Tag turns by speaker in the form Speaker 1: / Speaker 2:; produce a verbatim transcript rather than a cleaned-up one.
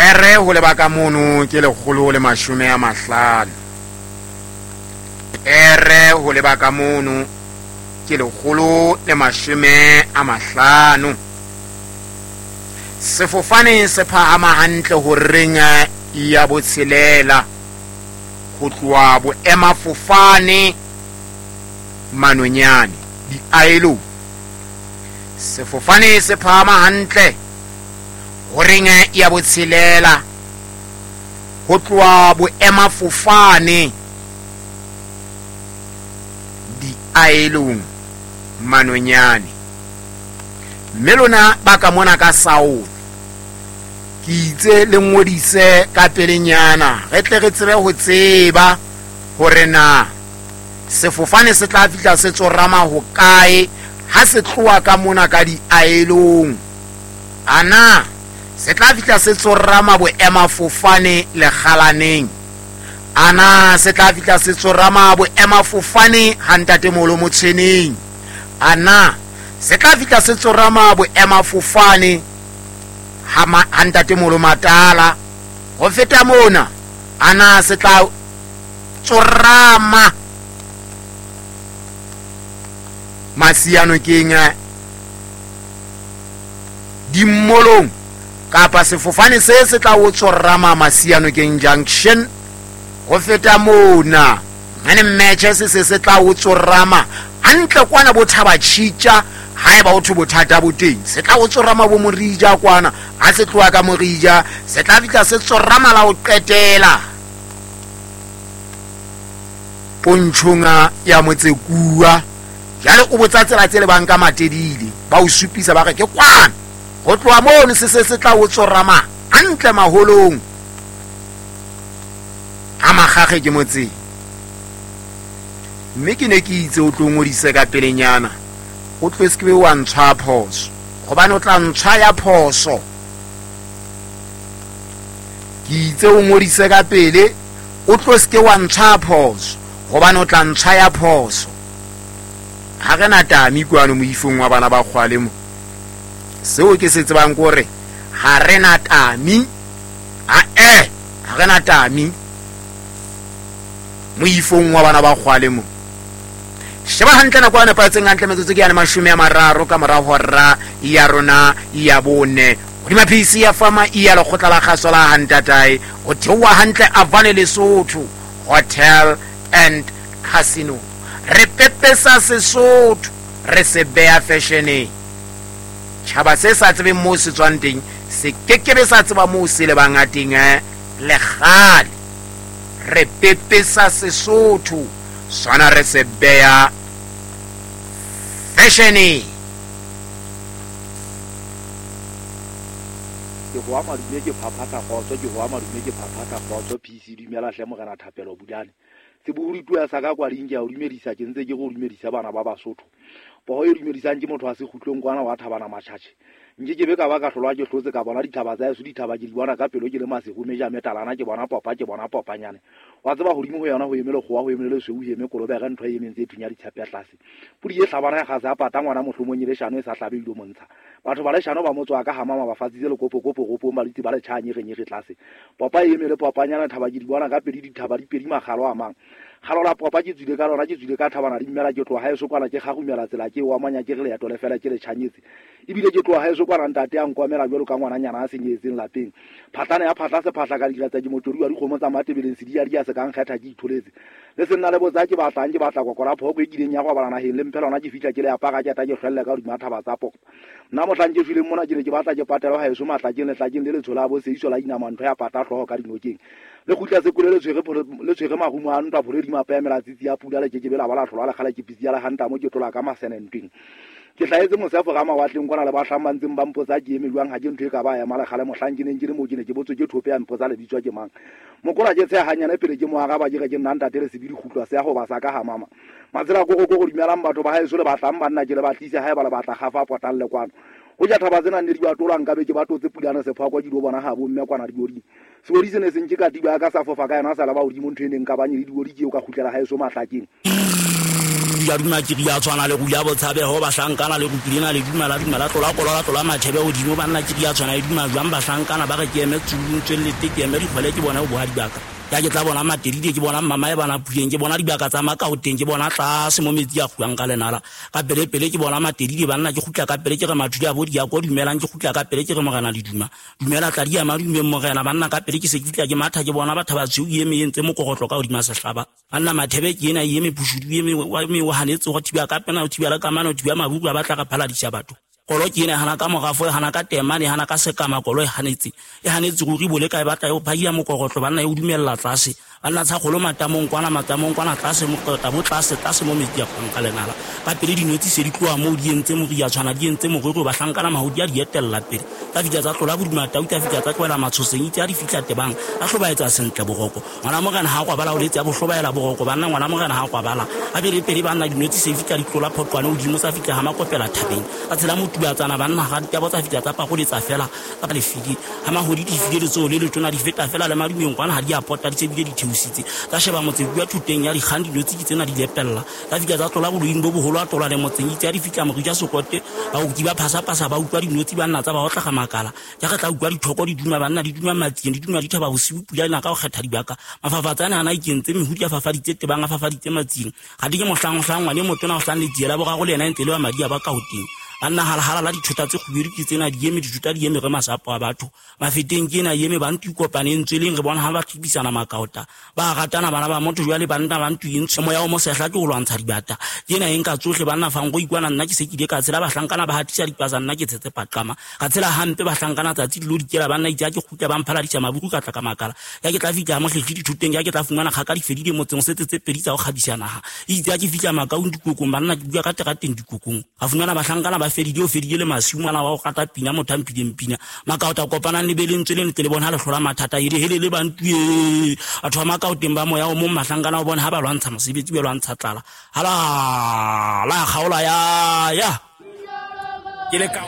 Speaker 1: Pere ho leba ka mono ke lekgolo le mashome a mahlano. Pere ho leba ka mono ke lekgolo le mashome a mahlano. Sefofane se phahama hantle horeng ya botshelela ho tloha boemafofane Manonyane Diaelo. Sefofane se phahama hantle horeng ya botshelela ho tloha boemafofane Diaelong Manonyane. Mme lona ba ka mona ka South, ke itse le ngodise ka pelenyana re tle re tsebe ho tseba hore na sefofane se tla fihla se tsorama ho kae ha se tloha ka mona ka Diaelong. Ana se tla fihla se tsorama boemafofane Lekgalaneng? Ana se tla fihla se tsorama boemafofane ha Ntatemoholo Motshweneng? Ana se tla fihla se tsorama boemafofane ha ha Ntatemoholo Matala? Ho feta mona, ana se tla tsorama Masianokeng Dimmolong, kapa sefofane se se tla o tsorama Masianokeng Junction? Ho feta mona, mane mmetjhe se se se tla o tsorama hantle kwana bo Thaba Tjhitja. Haeba o thwe bothata bo teng, se tla o tsorama bo Morija kwana. Ha se tloha ka Morija, se tla fihla se tsorama la ho qetela pontshong ya Motsekua. Jwale o botsa tsela tse lebang ka Matedile, ba o supisa ba re ke kwana. Ho tloha mono se se se tla o tsorama hantle maholong a Makgakge ke motseng. Mme ke ne ke itse o tlo ngodise ka pelenyana, o tlo se ke wa ntshwa phoso, hobane o tla ntshwa ya phoso. Ke itse o ngodise ka pele, o tlo se ke wa ntshwa phoso, hobane o tla ntshwa ya phoso. Ha re na tami kwano moifong wa bana ba kgwale mo. Seo ke se tsebang ke hore ha re na tami, ha eh ha re na tami moifong wa bana ba kgwale mo. Sheba hantle nako ya nepahetseng hantle metsotso ke ya mashome a mararo ka mora hora ya rona ya bone. Hodima P C ya fama ya lekgotla la kgaso la Hantatae, ho theoha hantle Avane Lesotho Hotel and Casino. Re pepesa Sesotho, re se beha fashioneng. Tjhaba se sa tsebeng moo se tswang teng se kekebe sa tseba moo se lebang a teng, eh, le kgale. Re pepesa Sesotho, sona re se beha fashioneng.
Speaker 2: Ke hoa madume ke phaphatha kgotso, ke hoa madume ke phaphatha kgotso. P C dumela hle morena Thapelo Bulane. Sebohodi tu ya saka kwa ding ke a o dumedisa, ke ntse ke go dumedisa bana ba Basotho. Poho e dumedisang ke motho wa sekgutlong kwana wa Thabana Matjhatjhe. Nke ke be ka ba ka hlolwa ke hlotse ka bona dithaba tsa heso, dithaba ke di bona ka pelo ke le Maseru meja metalana, ke bona popa, ke bona popanyane. Wa tseba hodimo ho yona ho eme lekgowa, ho eme le lesweu, ho eme kolobere, ntho e emeng tse thunya ditshepe tlase. Pudi e hlabana ya kgase ya pata ngwana mohlomong e leshano e sa hlabe ilo montsha. Batho ba leshano ba motswa ka hamama ba fatsitse lekopo-kopo ropong ba litse ba le tjha nyere-nyere tlase. Popa e eme le popanyana, thaba ke di bona ka pedi, dithaba di pedi makgalo a mang. Kgalo la popa ke tswile ka lona, ke tswile ka Thabana di mmela, ke tloha haeso kwana ke kgarumela tsela ke wa manya ke re leeto le fela ke le tjhanyetse. Ebile ke tloha haeso kwana ntate a nkomela jwalo ka ngwananyana a senyetseng lapeng. Phatlana ya phatla se phatla ka dira tsa ke motori wa dikgomo tsa Matebeleng se di ya di ya se ka nkgetha ke itholetse. Le se nna le botsa ke batlang, ke batla kokola phoko e kileng ya go bala naheng le mphe lona ke fihla ke le apara ke ta ke hlwelle ka hodima thaba tsa poko. Nna mohlang ke shweleng mona ke ne ke batla ke patela haeso matlakeng letlakeng le letshola bo seiso la inama ntho ya pata hlooho ka dinokeng. Le kgutla sekole le tshwere pholo, le tshwere marumo a ntwa pholo di mapemela tsitsi ya pula le kekebe la ba la tlhola le kgale ke pitsi ya le hanta mo ke tlola ka masene ntweng. Ke hlahetse mosefo ga mawatleng kwana le bahlang ba ntseng ba mpotsa ke eme jwang, ha ke ntho e ka ba ema le kgale mohlang ke neng ke le moo ke ne ke botswe ke thope ya mpotsa lebitswa ke mang. Mokola ke tsheha hanyane pele ke mo araba ke re ke nna ntate le sebidi kgutlwa se ya ho ba sa ka ha mama. Matsela koko koko dumelang batho ba haeso le batlang banna ke le batlise haeba le batla kgafa potang le kwano. Ho ja thaba tsena nne di ba tolang ka be ke ba totse pulana sephwa kwa di lo bona ha bo mme kwana dioding. Seodi se ne se nke ka tiba ka sa fofa ka yona sa la ba hodimo ntho e neng ka banye le diodi ke o ka kgutlela haeso mahlakeng.
Speaker 3: dula duma ke ria tshwana le rula botshabeho bahlankana le rupilena le duma la duma la tlola kolo la tlola mathebe hodimo banna ke ria tshwana e duma jwang bahlankana ba re ke eme tsulung tswellete ke eme dikgwele ke bona ho boha dibaka ya ke tla bona Matedide ke bona mama e bana puleng ke bona dibaka tsa Makaoteng ke bona tlase mo metsi a kguang ka lenala ka pele pele ke bona Matedide banna ke kgutla ka pele ke re mathudi a bo di ya ko dumelang ke kgutla ka pele ke re morena le duma dumela tla di ya madumeng morena banna ka pele ke se ke fitla ke matha ke bona batho ba tshweu eme e ntse mokogotlo ka hodima sehlaba banna Mathebe ke ena eme Pushudu eme wa me wa hanetse go thiba ka pena o thiba ka mano o thiba mabuku ba batla ka phaladisa batho kolo ke ena hana ka morafo hana ka temane hana ka sekama kolo e hanetse e hanetse ruri bole ka e batla e phaia mokogotlo banna e o dumella tlase banna tsa kgolo matamong kwana matamong kwana tlase mokota bo tlase tlase mo metsi a kgwang ka lenala ka pele dinotsi se di tloha moo di entse moria tshwana di entse morero bahlankana mahodi a di etella pele tsa fitla tsa tlola boduma tau tsa fitla tsa tlohela matshoseng itse a di fihla tebang a hlobaetsa sentle boroko ngwana morena ha kwa bala o letse a bo hlobaela boroko banna ngwana morena ha kwa bala a pele pele banna dinotsi se fitla di tlola phoqwane hodimo tsa fitla ha makopela thabeng a tshela motubatsana banna ga ditabo tsa fitla tsa pakoletsa fela tsa lefidi ha mahodi di file letsoho le letona di feta fela le madumeng kwana ha di a pota di se bile di theositse tsa sheba motse bua thuteng ya dikgang dinotsi ke tsena di lepella tsa fitla tsa tlola boloing bo boholo a tlola le motseng itse a di fitla morija sokote baoki ba phasapasa ba utlwa dinotsi banna tsa ba otla makala ja re tla utlwa dithoko di duma banna di duma matsieng di duma dithaba bosiu pula ena ka ho kgetha dibaka mafafatsane ana ikentse mehudi a fafaditse tebang a fafaditse matsieng ga di ke mohlang mohlang ngwane motona o hlang le tiela boraro le yena e ntse le wa madi a ba ka hoteng banna halahala la dithota tse kgubedu ke tsena di eme dithota di eme re masapo a batho mafeteng ke ena eme bantu kopaneng tsweleng re bona ha ba tlibisana makaota ba ratana bana ba motho jwale banna ba ntu intshe moya o mosehla ke ho lwantsha dibata ke ena eng ka tsohle banna fango ikwana nna ke se ke ile ka tshela bahlankana ba hatisa dipasa nna ke tshetse paqama ka tshela hampe bahlankana tsatsi dilo dikela banna itse ke kgutla ba mphaladisa mabuku ka tla ka makala ya ke tla fitla mohlehli dithoteng ya ke tla fumana kgaka di fedile motseng o setse tse pedi tsa ho kgabisa naha itse ke fitla makaung dikokong banna ke bua ka terateng dikokong ga fumana bahlankana ba fedile o fedile le masiu ngwana wa go rata pina motho a mphileng pina makaota kopanang le belentswe le ntle le bona ha le hlola mathata ere hele le bantu e batho ba Makaoteng ba moya o mong mahlankana o bona ha ba lwantsha mosebetsi ba lwantsha tlala hala la kgaola ya ya ke le ka